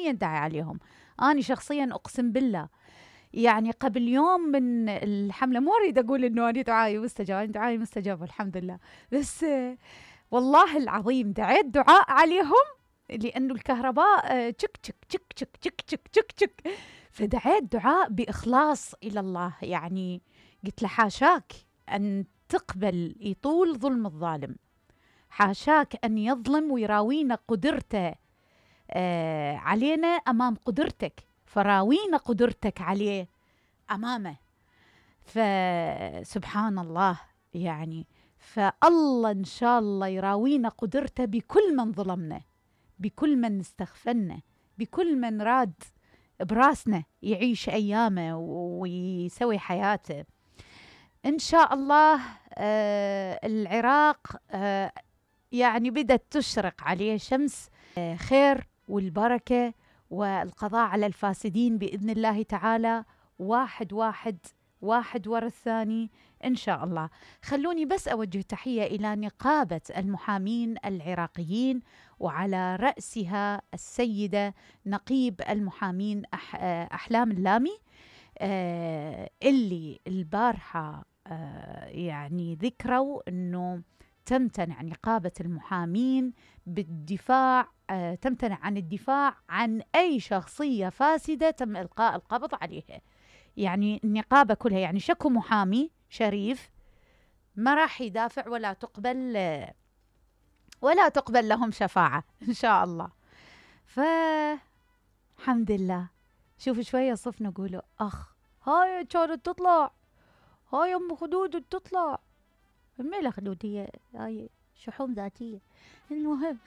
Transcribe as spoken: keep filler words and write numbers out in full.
شخصيا داعي عليهم. أنا شخصيا أقسم بالله يعني قبل يوم من الحملة، مو أريد أقول إنه أنا دعائي مستجاب، أنا دعائي مستجاب الحمد لله، بس والله العظيم دعيت دعاء عليهم لأنه الكهرباء تشك تشك تشك تشك تشك تشك تشك تشك، فدعيت دعاء بإخلاص إلى الله. يعني قلت له حاشاك أن تقبل يطول ظلم الظالم، حاشاك أن يظلم ويراوينا قدرته آه علينا أمام قدرتك، فراوينا قدرتك عليه أمامه. فسبحان الله يعني، فالله إن شاء الله يراوينا قدرته بكل من ظلمنا، بكل من استغفلنا، بكل من راد براسنا يعيش أيامه ويسوي حياته إن شاء الله. آه العراق آه يعني بدأت تشرق عليه شمس آه خير والبركة والقضاء على الفاسدين بإذن الله تعالى، واحد واحد واحد ورا الثاني إن شاء الله. خلوني بس أوجه تحية إلى نقابة المحامين العراقيين، وعلى رأسها السيدة نقيب المحامين أح أحلام اللامي، آه اللي البارحة آه يعني ذكروا أنه تمتنع نقابة المحامين بالدفاع، آه تمتنع عن الدفاع عن أي شخصية فاسدة تم إلقاء القبض عليها. يعني النقابة كلها يعني شكو محامي شريف ما راح يدافع ولا تقبل ولا تقبل لهم شفاعة إن شاء الله. فالحمد لله. شوفوا شوية صف نقولوا أخ هاي كانت تطلع، هاي أم خدود تطلع، ميلا خدود هي هاي شحوم ذاتية. المهم